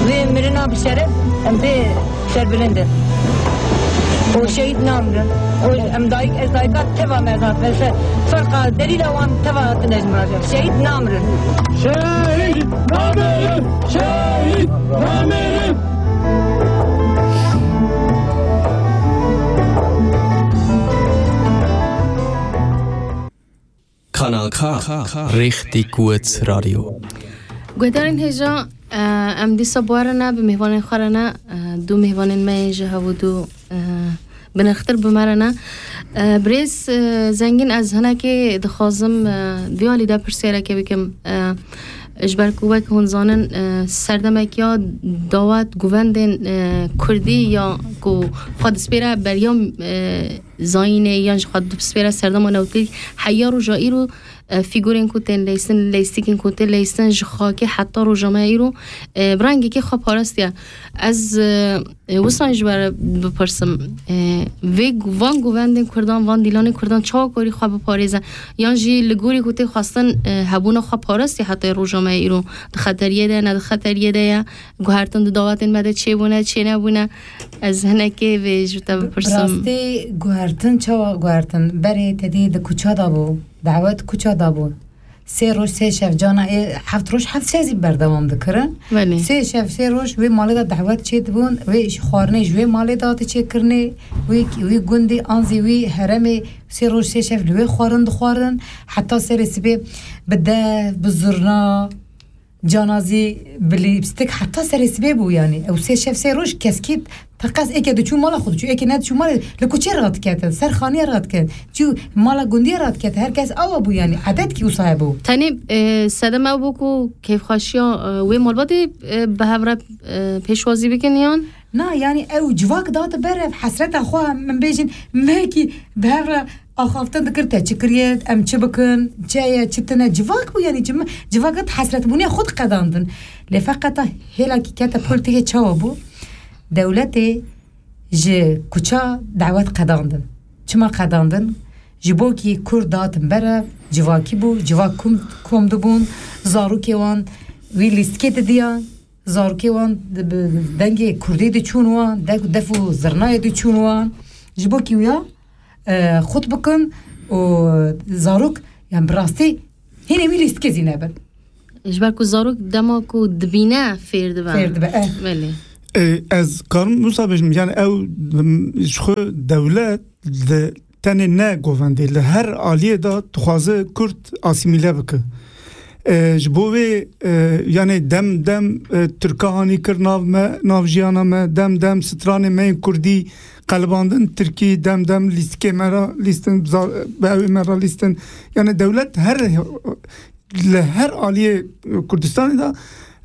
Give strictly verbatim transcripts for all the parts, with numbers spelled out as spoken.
Vê mirina bi şeref em pê serbilind in. Û şehîd namirin. Û em dayik, ez dayika teva me ez hatime ser. Ferqa delîla wan teva hatine ji min re. Şehîd namirin. Şehîd namirin! Şehîd namirin! Kanal K. Richtig gut Radio. Guhdarên hêja, e, em dîsa bi we re ne, bi mêvanên xwe re ne, e, du mêvanên me yên ji hevû du, e, bi nirxtir bi me re ne. E, birêz, e, Zengîn, ez hinekê dixwazim, e, vî alî de pirsiyareke bikim. E, ji ber ku wek hûn zanin, e, serdemeke ya dawet, govendên, e, kurdî ya ku xwe dispêre beriya, e, zayînê yan ji xwe dispêre serdema newtî heya roja îro, e, fîgurên ku tên leysin, leystikên ku tên leysin ji xakê heta roja me îro, e, bi rengekê xwe parastiye. Ez, e, e, wisa ji we re bipirsim, e, vê gu-, van govendên kurdan, van dîlanên kurdan çawa karî xwe biparêze? Yan jî li gorî ku tê xwestin, e, hebûna xwe parastî heta roja me îro di xeteriyê de, ne di xeteriyê de ye? Guhertin di dawetên me de çêbûne, çênebûne? Ez hinekê vê ji te bipirsim. Rastî guhertin çawa guhertin? Berê te dî di kuça de bû, dawet kuça de bû. Sê roj, sê şev, cana ê heft roj, heft şev zî berdewam dikirin. Belê. Sê şev, sê roj wê malê de dawet çêdibûn, wê ji xwarinê ji wê malê de hate çêkirinê, wî, wî gundî an zî wî heremê sê roj, sê şev li wê xwarin dixwarin, heta serê sibê bi dev, bi zurna, cana zî bi lîpstik heta serê sibê bû, yanî. Ew sê şev, sê roj keskî teqez êke diçû mala xwe diçû, êke nediçû malê li kuçê radiketin, ser xaniyê radiketin. Çû mala gundiyê radiketin, her kes awa bû, yanî. Edetkî wisa hebû. Tenê, e, sedem ew bû ku kêfxweşiya, e, wê malbatê, e, bi hev re, e, pêşwazî bikin yan? Na, yanî ew civak date berev, hesreta xwe, min bêjin, mehekî bi hev re axaftin dikir, te çi kiriye, em çi bikin, çi ye, çi tune, civak bû, yanî cim-, civaka di hesretbûnê xwe diqedandin. Lê feqeta hêlakî kete polîtîkê çawa bû? Dewletê ji kuça dawet qedandin. Çima qedandin? Ji bo kî Kurd datin berev, civakî bû, civak kom, kom dibûn, zarokê wan wî lîstikê didiyan, zarokê wan di, bi dengê Kurdî diçûn wan, dek, def û zirnayê diçûn wan. Ji bo kî wiya, e, xut bikin û zarok, yani bi rastî hînê wî lîstikê zî nebin. Ji ber ku zarok dema ku dibîne fêr dibe. Fêr dibe, eh. Belê. E, ez karim wisa bêjim, yani ew, m, ji xwe dewlet li tenê ne govendê, li her aliyê de dixwaze Kurd asîmîle bike. E, ji bo wê, e, yani dem dem, e, Tirka hanî kir nav me, nav jiyana me, dem dem stranê me yên Kurdî qelibandin Tirkî, dem dem lîstikê me re lîstin, za-, bi ewê me re lîstin. Yani dewlet her, li her aliyê Kurdistanê de,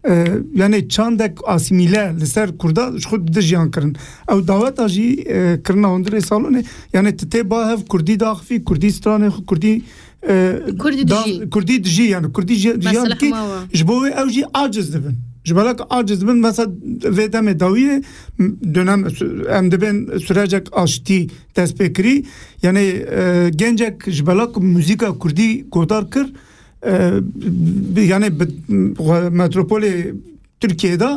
e, yani çandek asîmîle li ser Kurda ji xwe dide jiyan kirin. Ew daweta jî, e, kirina hundirê salonê, yani tu tê ba hev Kurdî daxivî, Kurdî stranê xwe, Kurdî, e, Kurdî da-, dijî. Kurdî dijî, yani Kurdî ji-, jiyan Mesela dikî, hema wa. Ji bo wê ew jî aciz dibin. Ji bela ku aciz dibin, mesela vê demê dawiyê, m-, dönem sü-, em dibên sürecek aştî dest pê kirî. Yani, e, gencek ji bela ku muzîka Kurdî godar kir, e, bi, yani bi, metropolê Tirkiyê de,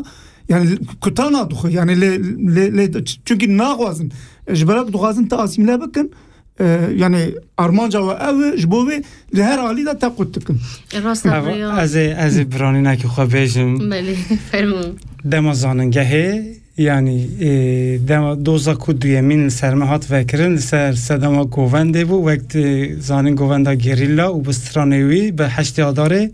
yani kutana dixwe, yani lê, lê, lê, çünkü naxwazin. Ji bela ku dixwazin te asîmile bikin, e, yani armanca we ew e, ji bo wê li her alî de te qut dikin. E, rast e, Ev, rêya. Ez ê, ez ê biranînekî xwe bêjim. Belê, fermo. Dema zanîngehê, yani, e, dema doza ku duyemîn li ser me hat vekirin, li ser sedema govendê bû, wek tu zanîn govenda gerîla û bi stranê wî bi heştê Adarê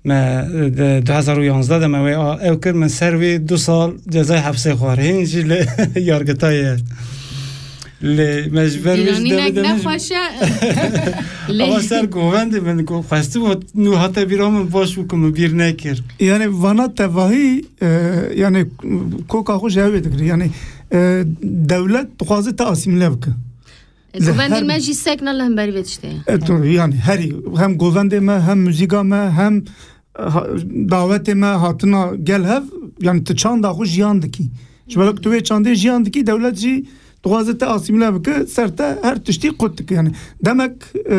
me, e, de, du hezar û yanzdeh de me wê a-, ew kir, min ser wî du sal cezayê hepsê xwar. Hîn jî li yargitayê ye. Lê me ji ber wî ji Dîlanînek devê de min jî nexweş e. Lê Ama ser govendê min ku xwestibû, nû hate bîra min baş bû ku min bîr nekir. Yani vana tevahî, e, yani koka xwe ji ew ê digire. Yani, e, dewlet dixwaze te asîmile bike. Li Govendên her me jî sekna li hemberî vê tiştê ye. E, tu, yani herî hem govendê me, hem muzîka me, hem, e, ha-, dawetê me hatina gel hev, yani tu çanda xwe jiyan dikî. Ji ber ku tu wê çandê jiyan dikî, dewlet jî dixwaze te asîmile bike, ser te her tiştî qut dike. Yani demek, e,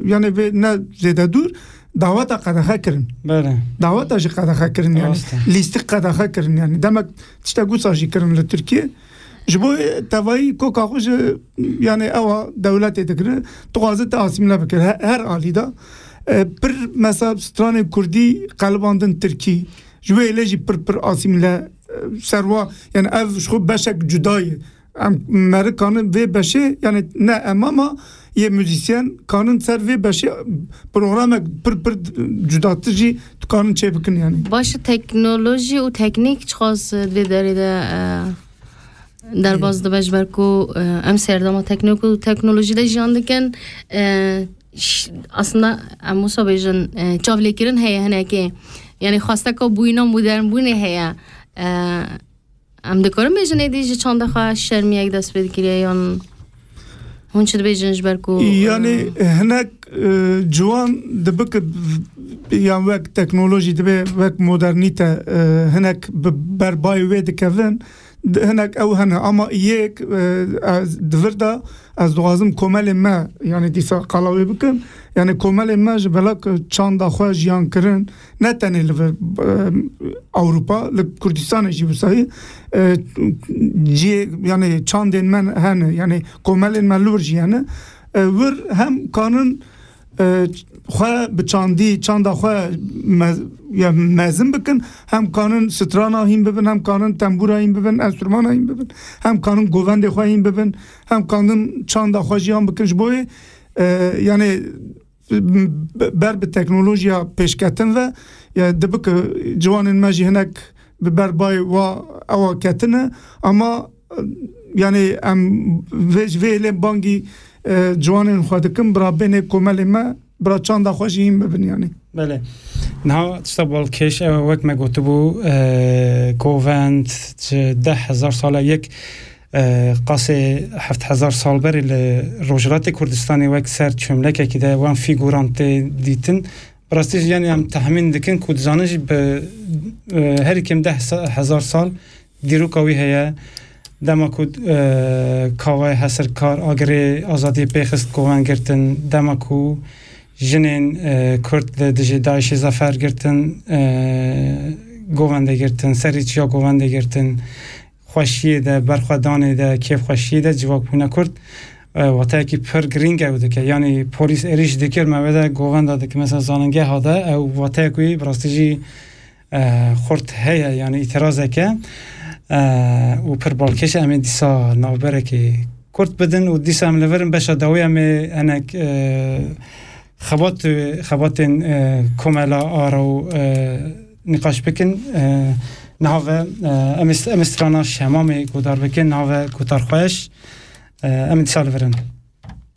yani vê ne zêde dûr, Daweta qedexe kirin. Belê. Daweta jî qedexe kirin, yani. Rast e. Lîstik qedexe kirin, yani. Demek tiştek wisa jî kirin li Tirkiye. Ji bo tevayî koka xwe ji, yani, ewa dewletê dikire, dixwaze te asîmle bikir. He-, her alî de, e, pir mesela stranê kurdî qelibandin tirkî. Ji wê lê jî pir pir asîmle, e, serwa, yani, ev ji xwe beşek cuda ye. Em meri kanin vê beşê, yani ne em ama yê muzîsyen kanin ser vê beşê programek pir pir cudatir jî dikanin çêbikin yani. Baş e, teknolojî û teknîk çiqas di vê derê de, e, derbas dibe, ji ber ku, e, em serdema teknîk û teknolojî de jiyan dikin. E, ş-, aslında em wisa bêjin, e, çavlêkirin heye hinekê. Yani xwesteka bûyîna modernbûnê heye. E, Em dikarin bêjin êdî ji çanda xwe şermiyek dest pê dikiriye yan hûn çi dibêjin ji ber ku, Yani, e, hinek, e, ciwan dibik, yan wek teknolojî dibe, wek modernîte, e, hinek bi berbayê wê dikevin, d-, hinek ew hene. Ama yek, e, ez di vir de ez dixwazim komelê me, yani dîsa qala wê bikim. Yani komelê me ji belak çanda xwe jiyan kirin, ne tenê li vir, e, Ewropa, li Kurdistanê jî wisa ye. E, cihê, yani çandên me hene, yani komelên me li wir jî hene. E, wir hem kanin, e, xwe bi çandî, çanda xwe me-, ya mezin bikin, hem kanin strana hîn bibin, hem kanin tembûra hîn bibin, enstrumana hîn bibin, hem kanin govendê xwe hîn bibin, hem kanin çanda xwe jiyan bikin. Ji bo wê, e, yani, be-, ber bi teknolojiya pêşketin ve, ya, dibike ciwanên me jî hinek bi ber bayê wa ewa ketine, ama, e, yani, em vê, vê lê bangî, e, ciwanên xwe dikin, bira bênê komelê me, bira çanda xwe jî hîn bibin, yani. Belê. Niha tişta balkêş ew e, wek me gotibû, e, govend ji deh hezar sala yek, e, qasê heft hezar sal berê li Rojhilatê Kurdistanê wek ser çömlekekî de wan fîguran tê dîtin. Bi rastî jî, yani, em tehmîn dikin ku dizanin jî bi, e, herî kêm deh hezar sal dîroka wî heye. Dema ku, e, Kavayê Hesirkar agirê azadiyê pêxist govend girtin, dema ku jinên, e, Kurd li dijî DAIŞê zefer girtin, e, govendê girtin, serî çiya govendê girtin, xweşiyê de, berxwedanê de, kêfxweşiyê de civak bûne Kurd, e, wateyekî pir girîng ew dike. Yanî polîs êrîş dikir, me wê de govenda dike, mesela zanîngeha de, ew wateyek wî bi rastî jî, e, xurt heye, yanî îtirazeke, e, û pir balkêş e. Em ê dîsa navberekê kurt bidin û dîsa em li vir in beşa dawî em ê hinek, e, xebat, xebatên, e, komela Aro, e, nîqaş bikin. E, niha ve, e, em ê, em ê strana Şemamê guhdar bikin, niha ve guhdarxweş. E, em ê dîsa li vir in.